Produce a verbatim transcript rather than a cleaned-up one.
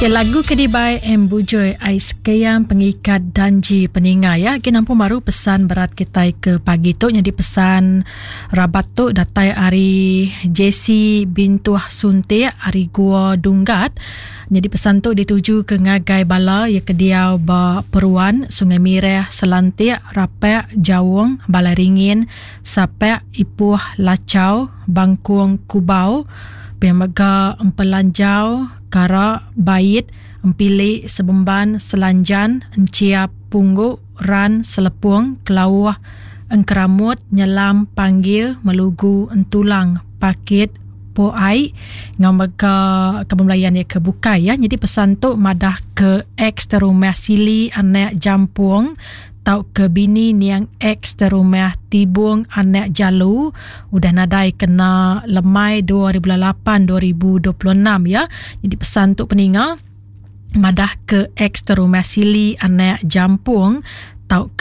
Ya, lagu ke dibai M Bujoi Ais Keyang Pengikat Danji Peninga ya. Agi nampung baru pesan berat kitai ke pagi tu nyadi pesan rabat tu datai ari J C Bintuh Suntik ari Gua Dunggat. Nyadi pesan tu dituju ke ngagai bala ya ke diau ba Peruan, Sungai Mireh, Selantik, Rapak, Jawong, Balai Ringin, Sapak, Ipuh, Lachau, Bangkung, Kubau, Pemega Empelanjau, Kara, Bait, Empilik, Sebemban, Selanjan, Enciap, Pungguk, Ran, Selepung, Kelauh, Engkeramut, Nyelam, Panggil, Melugu, Entulang, Pakit, Po Ai, ngau mega kebembelayan ia ke bukai ya. Jadi pesan tu madah ke ex terumah Sili anak Jampung tau ke bini niang ex terumah Tibung anak Jalu udah nadai kena lemai dua ribu lapan dua ribu dua puluh enam ya. Jadi pesan tu peninga madah ke ex terumah Sili anak Jampung tau ke